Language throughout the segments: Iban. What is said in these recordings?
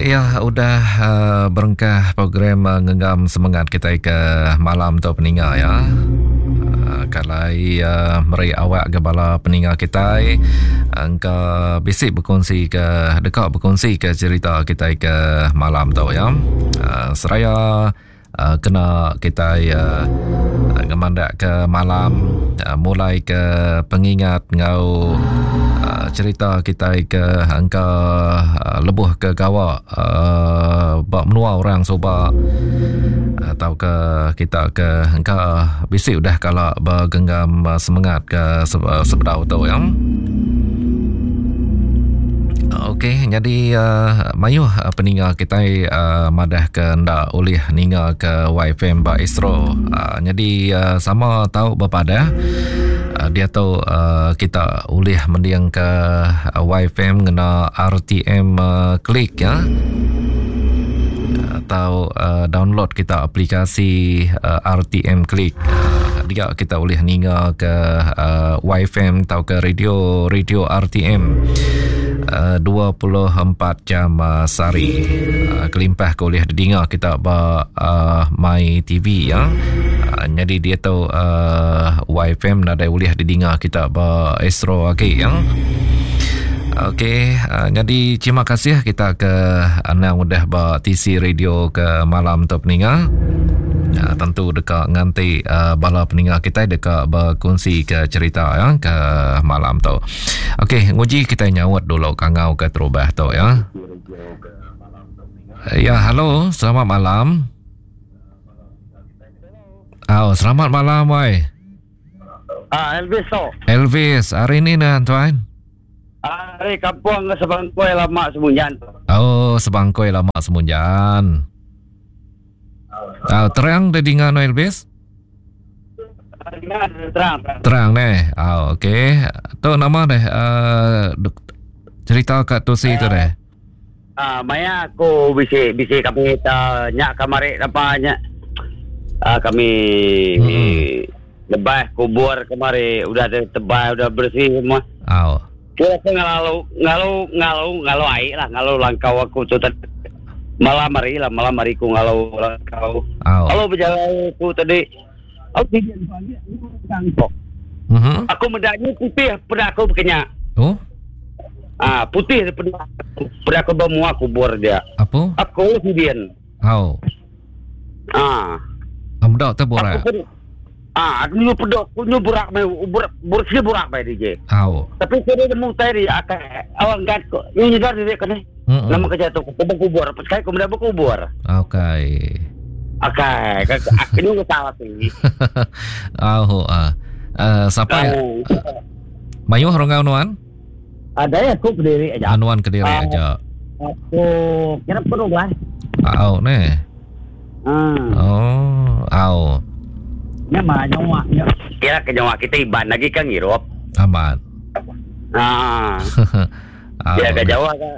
ya udah uh, berengkah program uh, ngenggam semangat kita ke malam tu peninga ya. Uh, kalai uh, meri awak ke bala peninga kita engka bisi berkongsi ke deka berkongsi ke cerita kita ke malam tu ya. Uh, seraya uh, kena kita uh, ngemandak ke malam uh, mulai ke pengingat ngau uh, cerita kita ke angka uh, lebuh ke gawa uh, ba menua orang suba atau ke kita ke engka bisi udah kala bergenggam semangat ke sebedau tu ya. Okey, jadi uh, mayuh uh, peninga kita uh, madah ke nda ulih ninga ke YFM ba Astro. Uh, jadi uh, sama tau bepadah uh, dia tu uh, kita ulih mending ke YFM ngena RTM uh, klik ya atau uh, download kita aplikasi uh, RTM Click. Uh, dia kita boleh ninga ke uh, YFM atau ke radio radio RTM. Uh, 24 jam uh, sehari. Uh, kelimpah ke boleh didengar kita ba uh, My TV ya. Uh, jadi dia tu uh, YFM nadai boleh didengar kita ba Astro lagi ya. Okey, uh, jadi terima kasih kita ke anang udah ba TC Radio ke malam tu peninga. Uh, tentu deka nganti uh, bala peninga kita deka berkongsi ke cerita ya ke malam tu. Okey, nguji kita nyaut dulu kangau ke terubah tu ya. Ya, halo, selamat malam. Oh, selamat malam, wai. Ah, Elvis tu. Elvis, hari ni nah tuan. Ari kampung Sebangkoi lama Semunjan. Oh, Sebangkoi lama Semunjan. Ah, terang dia dengar no Elvis? Terang. Terang neh. Ah, okey. Tu nama deh uh, cerita kat Tusi tu deh. Ah, maya aku bisi bisi kami ta nyak kamari apa nya. Ah, kami hmm. lebah kubur kemari udah tebal udah bersih semua. Oh. Kira aku ngelalu ngalu ngalu ngalu ai lah ngalu langkau aku tu tadi. Malam hari lah malam hari ku ngalu langkau. Oh. Kalau berjalan aku tadi aku tinggi aku Mm-hmm. Aku medaknya putih pada aku berkenyak. Oh. Ah, putih pada pada aku bermua kubur dia. Apa? Aku kemudian. Oh. Ah. Amdak tu borak. Aku ah, aku nyu pedok, aku nyu burak mai burak burak burak mai DJ. Oh. Tapi kira dia mau tadi akan awang gat ko. Nyu nyedar dia kene. Mm-mm. Nama kerja tu aku berkubur. Sekali aku muda berkubur. Okey. Okey, aku nyu salah sih. Oh, ah. Uh, siapa ya? Mayuh rongau nuan? Ada ya aku berdiri aja. Anuan kediri Ah. aja. Aku kira perlu lah. Au ne. Hmm. Oh, au. Nya mah nyawa. Kira ke nyawa kita iban lagi kan ngirup. Amat. Ah. Au. Ya ke jauh ke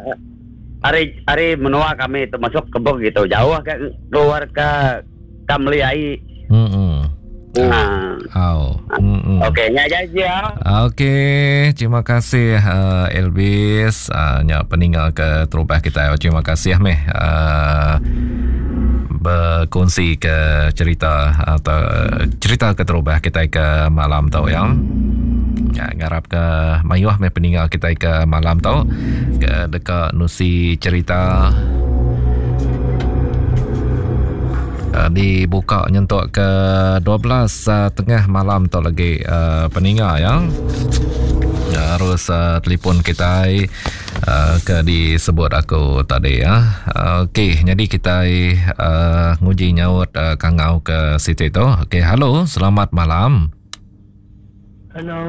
hari hari menua kami termasuk kebun gitu jauh ke keluar ke Kamliai. Mm-mm. Nah. Au. Mm-mm. Okey, nya aja ya. Okey, terima kasih uh, Elvis uh, nya peninggal ke terubah kita. Terima kasih meh uh, berkongsi ke cerita atau cerita ke terubah kita ke malam tu ya. Ya, ngarap ke mayuh meh peninggal kita ke malam tu ke dekat nusi cerita uh, dibuka nyentuk ke 12 uh, tengah malam tu lagi uh, peninga ya. Harus uh, telefon kita uh, ke disebut aku tadi ya. Uh, Okey, jadi kita uh, nguji nyaut uh, kangau ke situ tu. Okey, halo, selamat malam. Hello.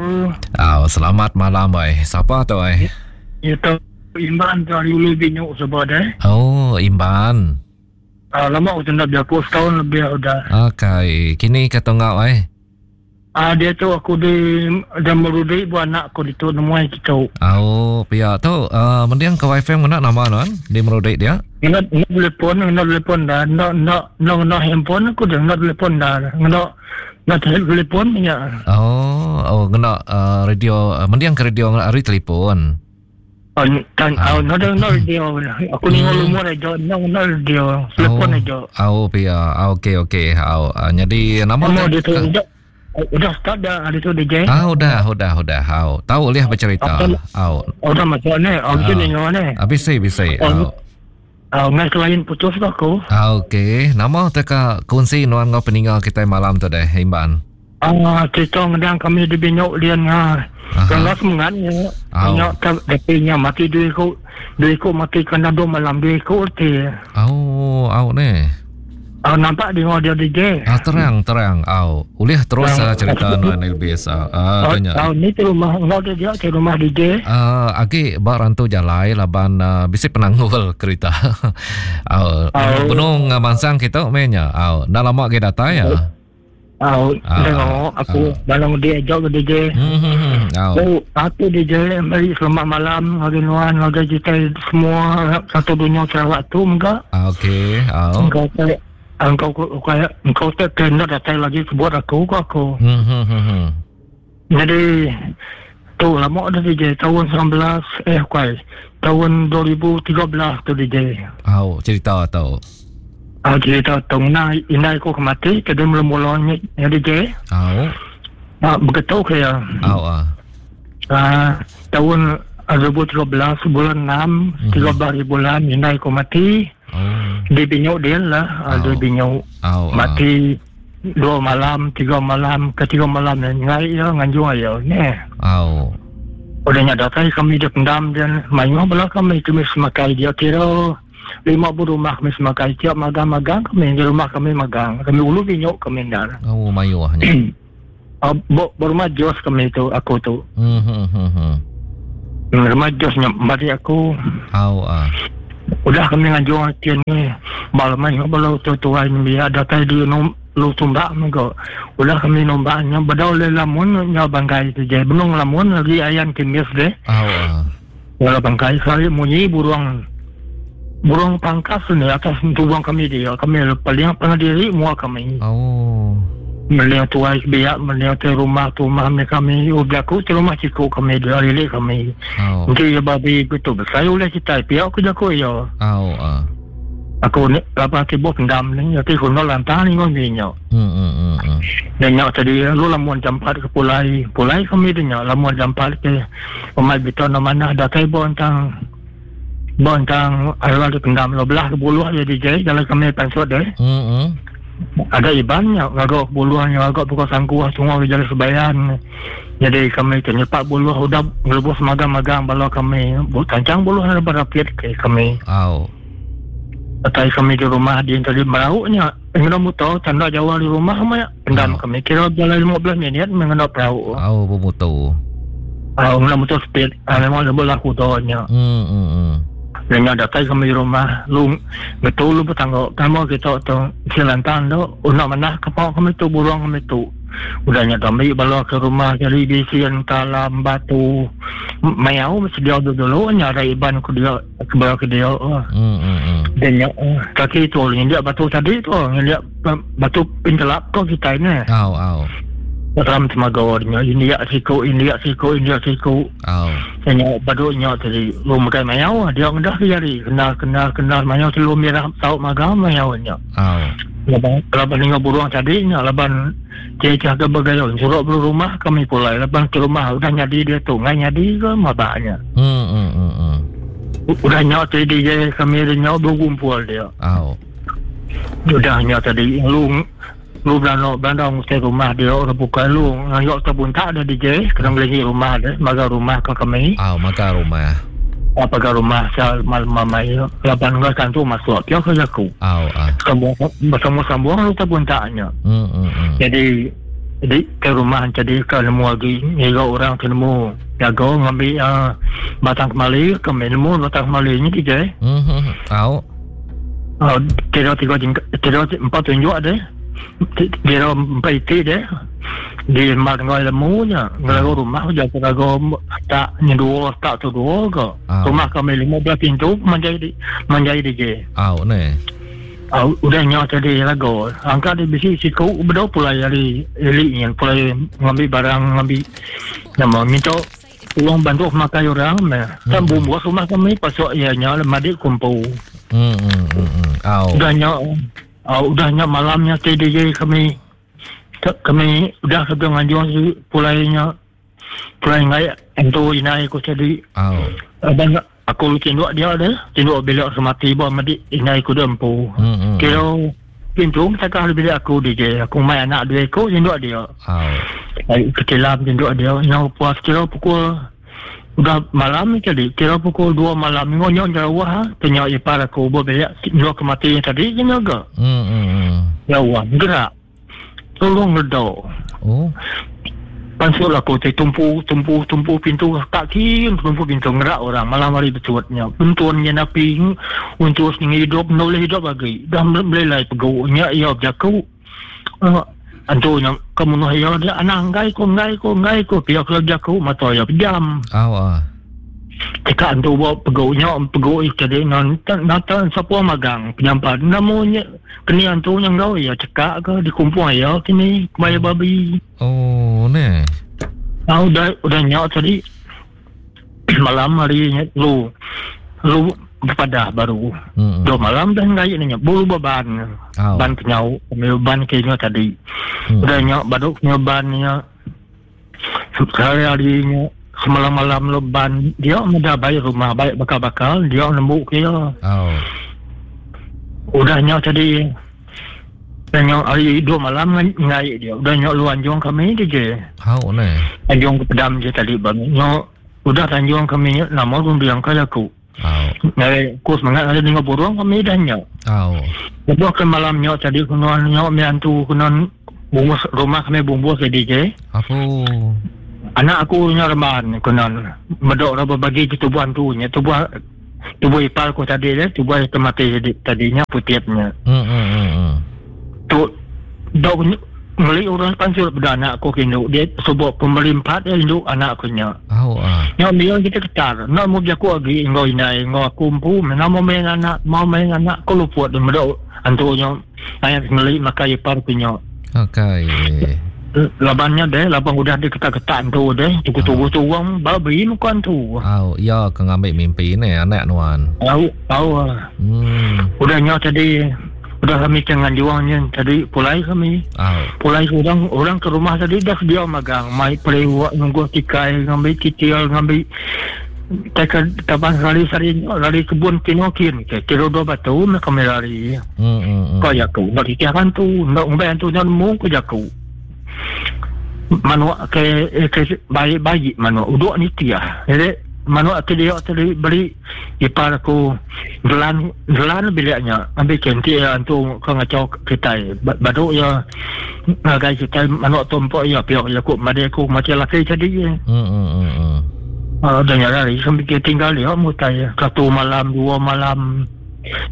Oh, selamat malam bai. Siapa tu ai? Ya tu Imban tu hari ulu binyuk sebab eh. Oh, Imban. Ah, lama aku tak berlaku setahun lebih udah. Okey, kini ke tunggak ai. Ah, dia tu aku di dan merudi buat anak aku di tu nemuai kita. Oh, pihak tu uh, mending ke wifi ngena nama non di merudik dia. Ngena ngena telefon, ngena telefon dah. Nak nak nak ngena handphone aku dah ngena telefon dah. Ngena ngena telefon ya. Oh, oh ngena uh, radio uh, mending ke radio ngena hari telefon. Tan au no no radio. Aku ni lumur aja no no radio. Telefon aja. Au pia. Okey okey. Au jadi nama tu udah udah start dah hari tu DJ. Ah udah udah udah. Au tahu boleh bercerita. Au. Udah masuk ni. Au bisa ni ni. Habis bisa. Au. Au ngai selain putus tu aku. Ah okey. Nama teka kongsi nuan ngau peninga kita malam tu deh Imban. Ah cerita ngedang kami di binyok lian nga. Kalau semangat ni. Nyok ta depinya mati dua iku. Dua iku mati kena dua malam dua iku ti. Au au ni. Ah nampak di dia DJ. Ah terang terang au. Ulih terus uh, cerita nuan Elvis. Ah uh, tanya. Ah ni tu rumah ngau dia dia ke rumah DJ. Ah agi ba rantu jalai laban uh, bisi penanggul kereta. Au uh, benung mansang kita meh nya. Au enda lama agi datai ya. Au, tengok aku balang dia jauh ke DJ. Oh, aku DJ meri selamat malam ngagai nuan ngagai kita semua satu dunia Sarawak tu mega. Okey, au. Engkau tak engkau engkau engkau tak kena datang lagi sebut aku ko aku. Hmm hmm hmm. hmm. Jadi tu lama dah DJ tahun 19 eh kuai tahun 2013 tu DJ. Au, cerita tu. Ah cerita tu na indai aku ke mati ke dia mula-mula ni DJ. Au. Ah begitu ke ya. Au ah. Ah tahun 2013 bulan 6 mm-hmm. 13 hari bulan indai aku mati. Oh. Di binyuk dia lah, oh. di binyuk. Oh, mati dua malam, tiga malam, ketiga malam ni ngai ya nganjung ayo ni. Oh. Udah nya datai kami dia pendam dia mayuh bala kami kami semakai dia kira lima bu rumah kami semakai tiap magang-magang kami di rumah kami magang kami ulu binyuk kami dah. Oh mayuh nya. Uh, berumah jos kami tu aku tu. Hmm hmm hmm. hmm. Rumah jos nya bagi aku. Au ah. Udah kami nganjung kian ni malam ni balau tu tuai ni biar datai di nom lu tumbak mengko. Udah kami nombaknya badau le lamun nya bangkai tu je. Benung lamun lagi ayan kimis deh. Au ah. Wala bangkai sekali munyi burung burung pangkas ni atas tubuh kami dia. Kami paling pernah diri mua kami. Oh. Melihat tuai biak melihat tu rumah tu rumah ni kami udah aku tu rumah ciku kami dia lilik kami. Oh. Nanti ya babi gitu besar oleh kita pihak aku jago ya. Oh ah. Aku ni apa tiba pendam ni nanti kuno lantang ni ngon ni nyo. Hmm hmm hmm. hmm. Dan nyo tadi lu lamun jampat ke pulai pulai kami dia nyo lamun jampat ke pemai beton mana datai bontang bontang arwah di pendam lo belah ke buluh dia DJ jalan kami pansut deh. Hmm hmm. Ada iban nyo ngagok buluh nyo agak pukul sangkuah tunggu ke jalan sebayan. Jadi kami ternyepak buluh udah ngelebus magang-magang bala kami tancang buluh ada berapit ke kami. Au. Atai kami di rumah dia tadi merauknya. Engkau muto tanda Jawa di rumah kami pendam Oh. kami kira jalan 15 minit mengenai perahu. Au bermutu. Ah, mengenai motor speed. Ah, memang ada berlaku tohnya. Hmm hmm hmm. Dengan datai kami di rumah lu betul lu bertanggung kamu kita tu silantan tu nak mana kapal kami tu burung kami tu. Udahnya kami bawa ke rumah jadi bisian talam batu mayau mesti dia dulu nya ada iban ku dia ke bawah ke dia. Hmm hmm hmm. Dan yang kaki tu dia batu tadi tu dia batu pintelap ko kita ni. Au au. Dalam temaga dia India siku India siku India siku. Au. Nya badu nya tadi lu makan mayau dia ngedah ke jari kena kena kena mayau tu lu merah tau magang mayau nya. Au. Laban laban dengan burung tadi nya laban cecah ke bergaya suruh belu rumah kami pulai laban ke rumah udah nyadi dia tu ngai nyadi ke mabaknya. Hmm hmm hmm. hmm. Udah nya tadi dia kami dia nya berkumpul dia. Au. Udah nya tadi lu lu belanda belanda mesti rumah dia orang buka lu ngayok terbuntak dia DJ kena beli rumah dia maga rumah ke kami. Au maka rumah. Apa ke rumah saya malam mamai laban ngai kan tu masuk dia ke aku. Au ah. Sambung bersama-sambung lu terbuntaknya. Hmm hmm hmm. Jadi jadi ke rumah jadi ke nemu lagi ngira orang ke nemu jaga ngambil uh, batang kemali kami nemu batang kemali ni DJ. Hmm hmm. Au. Uh, kira tiga kira empat tunjuk ada. Kira empat itik dia. Di mak ngai lemu nya ngelagu rumah jaga raga tak ni dua tak tu dua ke. Ah. Rumah kami 15 pintu menjadi menjadi DJ. Au ni. Ah, udah nyawa tadi lagu. Angkat di bisi siku bedo pula dari elik ni pula ngambil barang ngambil nama minta. Tolong bantu makai orang meh. Kan bumbus rumah kami pasuk iya nya madik kumpu. Hmm hmm hmm. hmm. Au. Udah nya au udah nya malam nya TDJ kami kami udah ke nganjung pulai nya pulai ngai entu inai ku tadi. Au. Abang aku tinduk dia deh, tinduk bilik semati ba madik inai ku dia empu. Hmm, hmm. Kira pintu takah bilik aku DJ. Aku mai anak dua iku tinduk dia. Au. Ai kecilam tinduk dia. Nyau puas kira pukul udah malam tadi kira pukul 2 malam ngonyo jauh ha tanya ipar aku ba bilik tinduk ke mati tadi kena ga. Hmm hmm. hmm. Jauh gerak. Tolong redo. Oh. Pansut aku ti tumpu tumpu tumpu pintu tak kin tumpu pintu ngerak orang malam hari betuatnya. Bentun nya napi untuk ngidup noleh hidup lagi. Dah melelai pegu nya ia bejaku. Uh, antu nya kemunuh ia dia anak enggai ko enggai ko enggai ko pia ko bejaku mata ia pejam. Au ah. Teka antu ba pegu nya pegu tadi nan nata sapa magang penyampat nemu nya keni antu nya enggau iya cekak ke dikumpung iya kini kebaya babi. Oh ne. Ah udah udah nya tadi malam hari nya lu lu bepadah baru. Hmm. Dua malam dah ngai nya bulu beban. Oh. Ban kenyau ban ke nya tadi. Hmm. Udah nya baru kenyau ban nya Sekali-hari nya semalam-malam leban dia meda baik rumah baik bakal-bakal dia nemu ke iya. Oh. Udah nya tadi udah nya hari dua malam ngai dia. Udah nya lu anjung kami dia je. Hau ne. Anjung ke pedam je tadi bang. Nya udah tanjung kami nya nama runding ka aku. Oh. Ngai ku semangat ada dengar burung kami dah nya. Oh. Lebuh ke malam nya tadi kunan nya mi antu kunan bungus rumah kami bumbus jadi je. Apu. Anak aku nya reman kunan medok ra berbagi ke tubuh antu nya tubuh tubuh ipar ku tadi dia tubuh ke mati tadi tadinya putitnya. Hmm hmm hmm. hmm. Tu dok ngeli orang pansut peda anak aku ke indu dia subok pemelimpat dia indu anak aku nya. Au ah. Nya mia kita ketar. Nak mau bejaku agi enggau indai enggau aku empu nama mau main anak mau main anak aku luput dia meda antu nya ayat ngeli makai ipar ku nya. Okey. Laban nya deh laban udah diketak-ketak antu deh tunggu-tunggu tu orang babi muka antu. Au iya ke ngambi mimpi ne anak nuan. Au au. Ah. Hmm. Udah nya tadi Udah kami ke nganjuang nya tadi pulai kami. Oh. Pulai ke orang orang ke rumah tadi dah sedia magang mai periwak nunggu tikai ngambi kitil ngambi teka taban lari sari lari kebun kino kin ke kira dua batu meh kami lari. Hmm, hmm, hmm. Ko jaku nak titih hantu nak ngumbai hantu nya nemu ko jaku. Manuk ke ke bayi bayi manuk uduk nitih. Jadi manuk ke dia tadi beli ipar aku gelan gelan bilik nya ambil kenti ya antu ke ngacau kitai badu ya ngagai kitai manuk tu empuk ya pia jaku madi aku mati laki tadi. Hmm hmm hmm. hmm. Uh, dan ya lari sampai kita tinggal dia mutai satu malam dua malam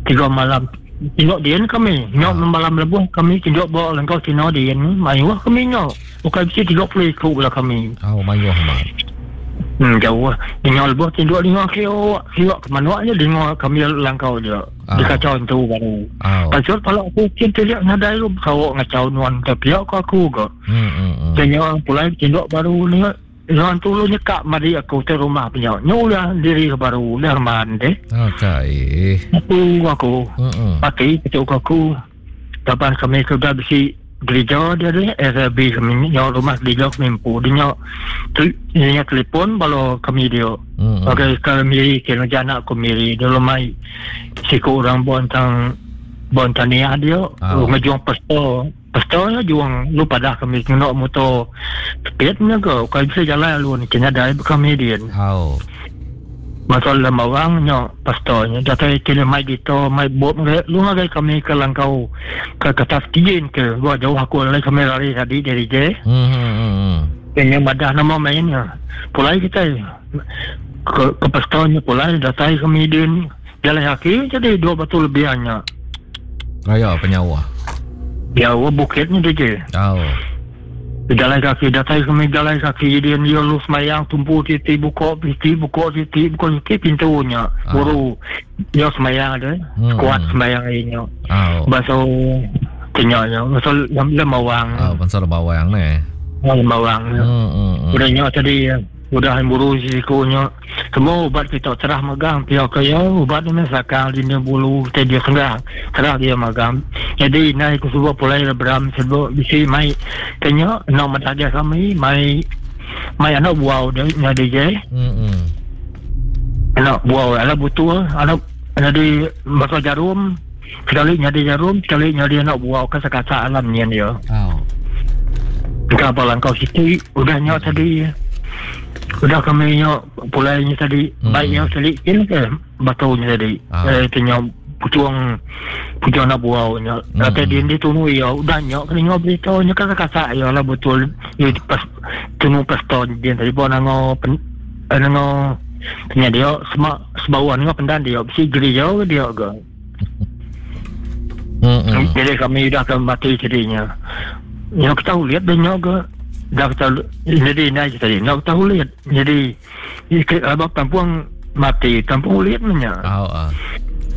tiga malam Tinduk din kami. Nyok ah. malam lebuh kami tinduk ba lengkau Cina din. Mayuh kami nyok. Bukan bisi 30 iku lah kami. Oh, mayuh amat. Hmm, jauh. Dengar lebuh tinduk dengar kiok. Kiok ke manuk je dengar kami langkau je. Oh. Dia kacau tu baru. Oh. Pasal kalau aku kin teliak nadai lu kau ngacau nuan tapi aku aku ke. Hmm, hmm, hmm. Dengar pulai tinduk baru ni Nuan tu lu nyekak madi aku te rumah punya. Nyu lah diri ke baru lah reman deh. Okey. Aku aku. Mm-mm. Pati ketuk aku. Tapan kami ke dah bisi gereja dia deh RB kami nyo rumah gereja kami empu dia nyo tu dia telefon balo kami dia. Mm-mm. Okey ke miri ke jana aku miri dia lumai siku orang buan tang buan taniah dia Ah. ngejuang pastor Pastor nya juang lu padah kami ngena motor speed nya ke ukai bisa jalai alun kena dai kami din. Au. Masa lembawang nya pastor nya datai kena mai gitar mai bot lu ngagai kami ke langkau ke ketas kijin ke gua jauh aku alai kami lari tadi dari je. Hmm hmm hmm. Kena madah nama mainnya. Pulai kita ke, ke pastor nya pulai datai kami din jalan kaki jadi dua batu lebih nya. Raya penyauh. Jauh bukitnya dia je. Oh. Jalan kaki datai kami jalan kaki dia dia lu semayang tumpu titi buka titi buka titi buka titi pintunya. Ah. Baru dia semayang ada. Hmm. Kuat semayang ini. Oh. Bahasa kenyanya, bahasa lembawang. Oh, bangsa lembawang ni. Lembawang. Hmm, hmm, hmm. Udah nya tadi. Udah buru siku nya semua ubat kita terah megang pia ke iya ubat ni meh sakang dinding bulu kitai dia senggah terah dia magang. Nyadi indai ku suba pulai ari beram suba bisi mai ke nya enda meda aja kami mai mai anak buau dia nyadi je. Anak buau anak butul anak nyadi baka jarum sekali nyadi jarum sekali nyadi anak buau ke sekasak alam nyin dia. Oh. Engka ba langkau siti udah nya tadi udah kami nya pulai nya tadi hmm. baik nya sekali kin ke batu nya tadi. Ah. Eh nya putung putung nak buau nya. Hmm. Kata dia dia tunu ia udah nya kena ingat berita nya kan kasak ia lah betul ia pas tunu pastor dia tadi pun nango pen, eh, nango nya dia semak sebawa nango pendan dia bisi gereja ke dia ke. Hmm. Jadi kami dah ke mati jadinya. Nya kita lihat dia nya ke dah kita jadi naik tadi. Nya kita lihat. Jadi abang kampung mati kampung lihat nya. Oh, ah.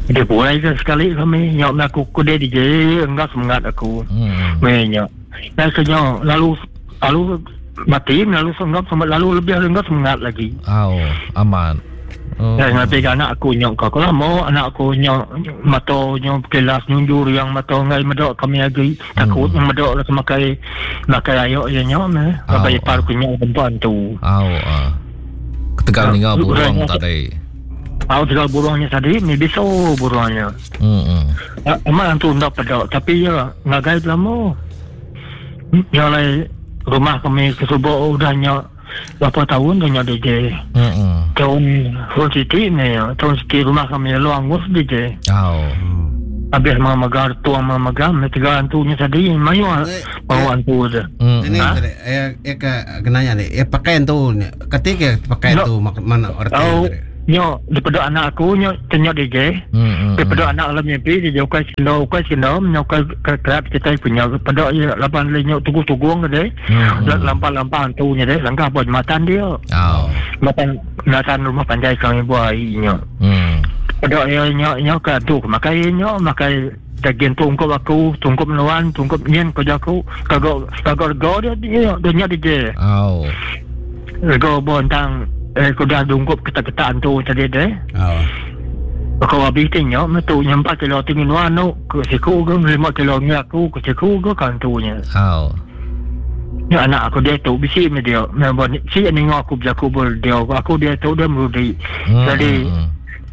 Dia pulai ke sekali kami nya aku ku dia DJ enggak semangat aku. Hmm. Nya. Dan kenya lalu lalu mati lalu senggap sama lalu lebih enggak semangat lagi. Oh, aman. Oh. Dan nanti anak aku nyok kau kalau mau anak aku nyok mata nyok kelas nyunjur yang mata ngai medok kami lagi takut hmm. medok lah makai makai ayok ya nyok meh Oh. sampai ipar aku nyok perempuan tu. Oh, ah. Ketegal ninga burung tadi. Au tegal burungnya tadi ni biso burungnya. Hmm. Amat tu ndak pedok tapi ya ngagai lama. Nya alai rumah kami ke suba udah nya berapa tahun dah nya DJ. Hmm. Tahun tahun siti ni tahun siti rumah kami lalu angus DJ. Oh. Habis ma megar tuang ma megar me tiga antu nya tadi mayu mau antu je. Hmm. Ini Ha? tadi eh eh ke kenanya ni eh pakai tu ni ketika pakai No. tu mak mana arti Oh, tadi. nyo daripada anak aku nyo tanya DJ. Hmm. Daripada anak dalam mimpi dia ukai sendo ukai sendo ukai kerap kita punya pada ya lapan le nyo tugu-tugung ke dia. Hmm. Lampa-lampa hantu nya dia langkah buat jembatan dia. Oh. Jembatan jembatan rumah panjai kami buat nyo. Hmm. Pada ya nyo nyo ke tu makai nyo makai daging tungkup aku, tungkup menuan, tungkup nyen kerja aku. Kagak kagak rego dia dia dia nyo DJ. Oh. Rego bontang eh kuda tungkup ketak-ketak hantu tadi dia. Oh. Kau habis tengok metu nyampak kilo tinggi nuan nu ke siku ke 5 kilo ni aku ke siku ke kantunya. Oh. Ya anak aku dia tu bisi me dia. Memang si ni aku berjaku ber dia aku dia tu dia merudi. Hmm. Jadi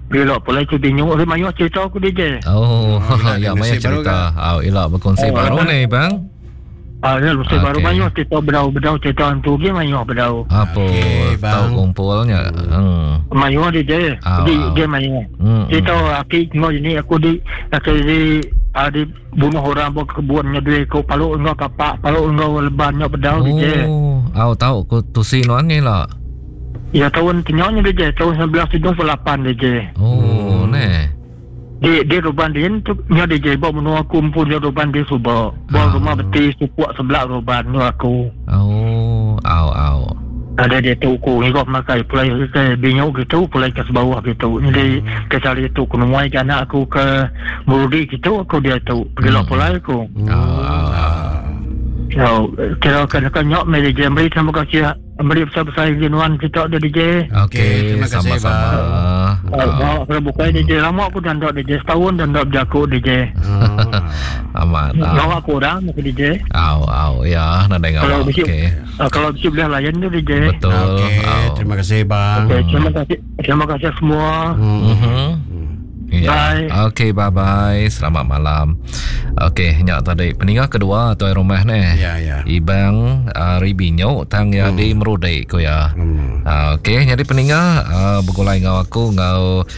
bila pula itu bingung dia mayu cerita aku dia je. Oh, Oh, ya ila maya kongsi baru cerita. Oh, ila berkongsi Oh, baru abang. ni bang. Ah dia mesti baru Okey. mayu cerita bedau-bedau cerita hantu dia mayu bedau. Apa Okey, bang. tahu kumpulnya. Hmm. Mayu dia je. Ah, Dia ah. dia mayu. Hmm. Cerita aki tengok ini aku di aku di ah, di bunuh orang buat kebunnya duit kau paluk engkau kapak paluk engkau lebannya bedau dia je. Oh, au tahu ku tusi nuan ni lah. Ya tahun tengoknya dia je tahun 1978 dia je. Oh, ne. Di di ruban dia tu nya dia je bawa menua aku pun dia ruban dia suba. Bawa Ah. rumah beti supuk sebelah ruban nu aku. Oh, au au. Ada dia tu ku ni kau makai pulai ke binyok gitu pulai ke bawah gitu. Jadi ke cari tu ku nemuai ke anak aku ke Murudi gitu aku dia tu pergi hmm. pulai aku. Au au. au. So, kira kena kena nyok me DJ beri terima kasih beri besar-besar jenuan kita dia DJ. Okey, Okey, terima kasih, sama-sama. Oh, oh, kalau bukan DJ lama aku dah ndok DJ setahun dah ndok berjaku DJ. Amat. Au. Lama aku orang aku DJ. Au au ya, nadai Kalau ngawak. bisi Okey. kalau bisi boleh layan tu DJ. Betul. Okey, Au. terima kasih bang. Okey, terima kasih terima kasih semua. Hmm. Mhm. Ya. Bye. Okey, bye bye. Selamat malam. Okey, nyak tadi peninggal kedua tuan rumah ni. Ya, ya. Ibang Ribinyo tang ya di Merudek ko ya. Hmm. Okey, jadi peninggal bergulai ngau aku ngau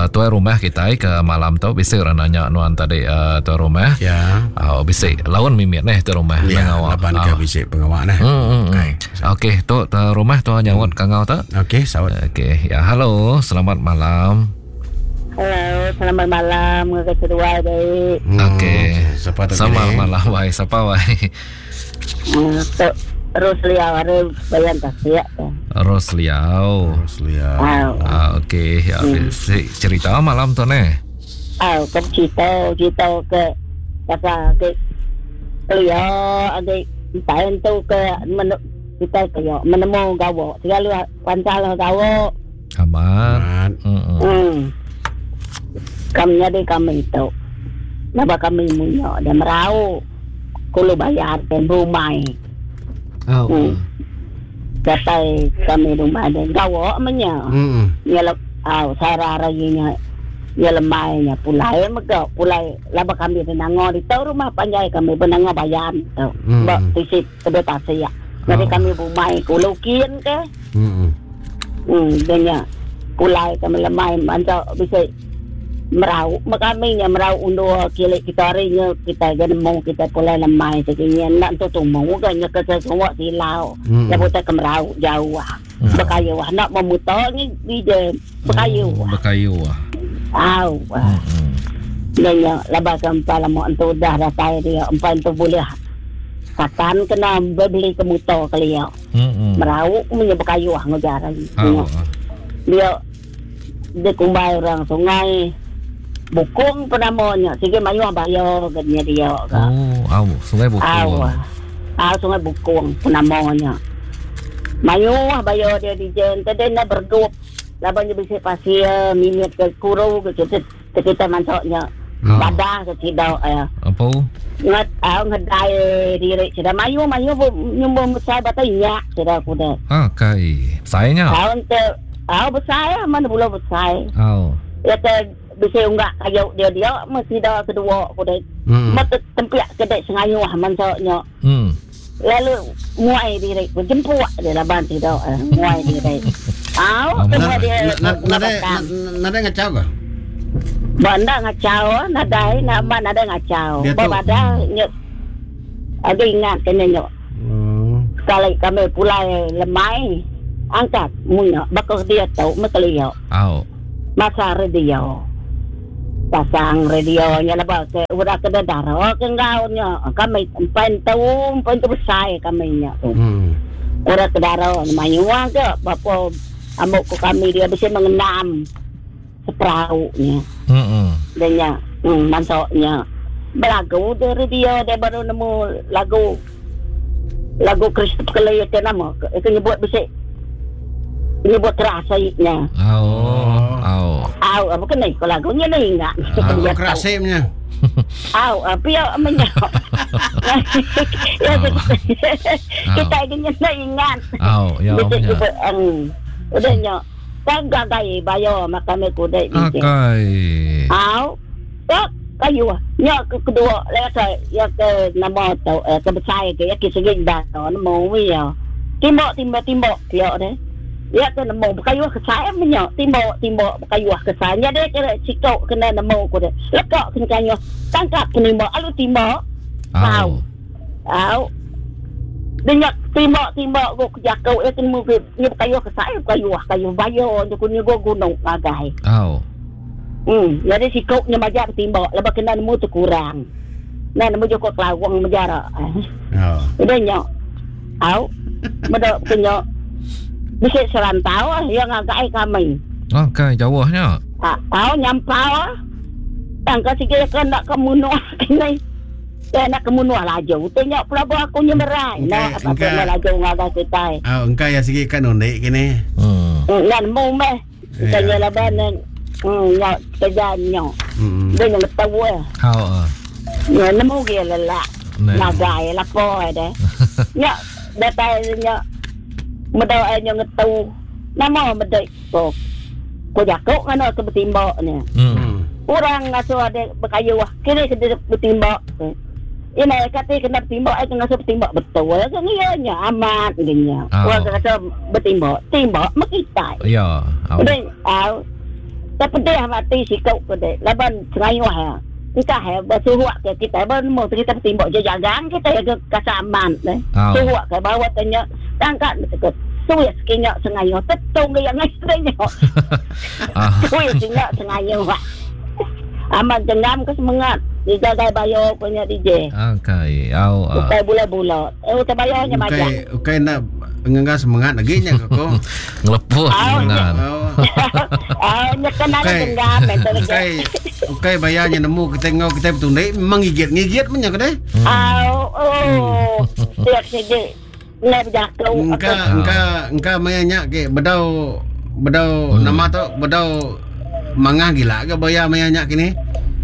tuan rumah kita ke malam tu bisa orang nanya nuan tadi tuan rumah. Ya. Bisa lawan mimit ni tuan rumah Ya, nang awak. laban ke Ah. bisi pengawak nah. Hmm. Okey, tu tuan rumah tu nyawat kangau tu. Okey, saut. Okey, ya halo, selamat malam. Halo, selamat malam. Ngaka seduai baik. Hmm, Okey. Siapa tu Selamat kini? malam wai, siapa wai? Tu Roslia ada bayan tasik. Rosliau. Roslia. Aw, Ah, okey, ya, cerita malam tu ni. aw, kau cerita, cerita ke pasal ke kelia ada tahun tu ke menu Kita kaya menemu gawa. Selalu pancal gawa. Amat. Hmm. Kami nyadi kami tu. Laba kami munya dia merau. Kulu bayar dan rumai. Oh. Hmm. Datai kami rumah dia gawa menya. Hmm. Nya le, au sara hari nya nya lemai nya pulai mega pulai laba kami di nanga ditu rumah panjai kami benanga bayan tu. Hmm. Ba tisi tebing tasik. Jadi Oh. kami bumai kulu kin ke. Hmm. Hmm, dia nya pulai kami lemai mansa bisi merau me kami nya merau undur kilik kita hari nya kita ga nemu kita pulai lemai sigi nya enda entu tumu ga nya ke semua silau. Hmm. Lebuh tai ke merau jauh. Bekayu enda memutar ni DJ bekayu. Oh, bekayu. Au. Hmm. Dia nya laban ke empai lama entu udah datai dia empai entu boleh katan kena beli ke muto kelia. Hmm. Merau punya bekayu ngau jarai. Oh. Dia dia kumbai orang sungai Bukung penamanya sigi mayuh bayo ke nya dia ka. Oh, au, sungai Bukung. Au. Au sungai Bukung penamanya. Mayuh bayo dia di jen tadi nak bergup laban dia bisi pasir mimit ke kuru ke kita kita masuknya. Oh. Badah ke sida ya. Apa? Ngat au ngedai diri sida mayuh mayuh nyumbung besar batai nyak sida kuda. Ah, kai. Besainya. Au ente au besar ya mana pulau besar. Au. Ya ke bisa unggak kayu dia dia mesti dah kedua kuda. Hmm. Mat tempiak kedai sengayuh mansoknya. Hmm. Lalu muai diri ku jempuk dia laban tidak eh, muai diri. Au semua dia Nadai nadai ngacau ke? Ba enda ngacau ah, nadai nak ba nadai ngacau. Dia Ba tu- badah nyut ada ingat kena nyut. Hmm. Sekali kami pulai lemai angkat munya bakal dia tau mekelia. Au. Masa radio. Pasang radio nya laba ke udah ke darah ke enggau nya. Kami empan tu empan tu besar kami nya tu. Hmm. Udah ke darah mayuh ke bapa amuk ko kami dia bisa mengenam seperau nya. Hmm. Dia nya masuknya. Belagu dia radio dia baru nemu lagu lagu Christopher Kelly ke nama ke nyebut bisa nyebut kerasainya. Au. Au. Au, apa kena ikut lagunya ni ingat. Aku kerasipnya. Au, apa ya menyok. Ya, kita ingin nak ingat. Au, ya Bisa punya. juga, udah nyok. Kan gagai bayo makan kuda ni. Akai. Au. Tak kayu. Nyok ke kedua lah ke ya ke nama tu eh, ke besar ke ya ke segi dah nemu ya. Timbok timbok timbok ya deh. Ya ke nemu kayu ke saya menyok timbok timbok kayu ke saya dia kira sikok kena nemu ku deh. Lekak kena kayu tangkap kena timbok alu timbok. Au. Au. Dia nyak timbok-timbok ko jakau ya temu ke ni kayu ke saya kayu kayu bayo je ku ni go gunung ngagai. Au. Jadi sikok nya majak timbok lepas kena nemu tu kurang. Nah nemu joko kelawang menjara. Oh. Udah nyok. Au. Medok kenyo. Bisa serantau ah yang ngagai kami. Akai jauhnya. Ah, au nyampau ah. Tang ka sikit kan nak kemunuh kini. Ya nak kemunuh laju. Tu nyok pelabur aku nyemerai. Nak Engkai- apa engkai. nak laju ngagai kita. Oh, engkau ya sigi kan unik kini. Hmm. Ngan mu meh. Kita Ya. nya laban nyok kerja nyok. Hmm. Dia yang tahu eh. Au. ah. Nya nemu ge lelak. Nah. Nagai lapo deh. Nyok datai nyok medok ai nyok ngetu. Nama medok ko. Ko jakuk kan ke bertimbak ni. Hmm. Hmm. Orang ngasuh ada berkayu ah. Kira kena bertimbak. Ini kata kena bertimbak, ai kena ngasuh bertimbak betul. Kan iya nya amat genya. Ah. Orang kata bertimbak, timbak mekitai. Ya. Au. Udah, au. Tak pedih mati sikap ke dek. Laban sengayuh ha. Kita ha bersuruh ke kita bermu kita bertimbak je jagang kita ke kasaman deh. Au. Suruh ke bawah tanya tangkat betul. Suya sekinyak sengayuh tetung ke yang ngai Ah. Suya sekinyak sengayuh. Amat jengam ke semangat. Dijaga bayo punya DJ. Akai. Au. ah. Ukai bula-bula. Eh ukai bayonya Ukai macam. ukai nak ngangga semangat lagi nya koko. Ngelepuh Au. semangat. Oh. Ah, nyekan ada Ukai genggam itu. ukai ukai bayarnya nemu kita ngau kita betul dek memang gigit gigit punya ke deh. Au, oh. Tiap segi. Ngai bejaku. Engka engka engka maya nya ke bedau bedau nama tu bedau mangah gila ke baya maya nya kini.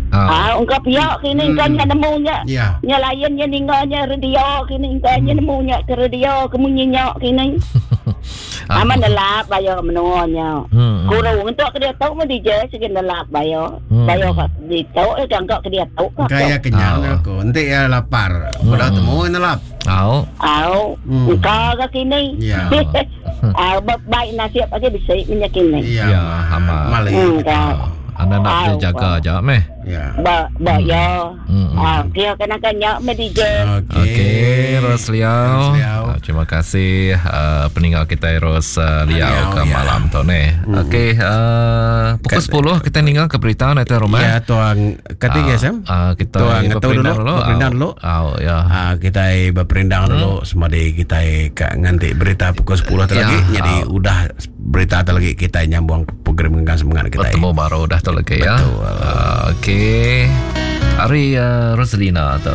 Ah, engka pia kini engka nya nemu nya. Ya. Nya lain nya ninga nya radio kini engka nya nemu nya ke radio ke munyi nya kini. Amat nelap bayo menua nya. Kurung untuk ke diatu mah DJ sigi nelap bayo. Bayo ka ditu eh ka ke diatu ka. Engka iya kenyang aku. Enti iya lapar, bedau temu nelap. Au. Au. Engka ga kini. Ya. Au baik nasib aja bisi menya kini. Ya, Ya, amat. Mali. Ka. Anda nak Au, jaga aja meh. Ya. Ba ba ya. Ah, kira kena kanya meh DJ. Okey. Okey, Ros Liau. Ros Liau. Ah, terima kasih uh, peninggal kita Ros uh, Liau Liau, ke ya. malam tu ni. Okey, uh, pukul 10 kita ninggal ke berita nanti rumah. Ya, tuang kati ke Sam? Ah, kita Tuang ngetau dulu, berperindang dulu. Ah, ya. Ah, kita berperindang dulu semadi kita ke nganti berita pukul 10 tu Ya, lagi. Jadi udah berita tu lagi kita nyambung program dengan semangat kita. Bertemu baru dah tu lagi ya. Betul. Ah, Okey. Hari uh, Roslina tu.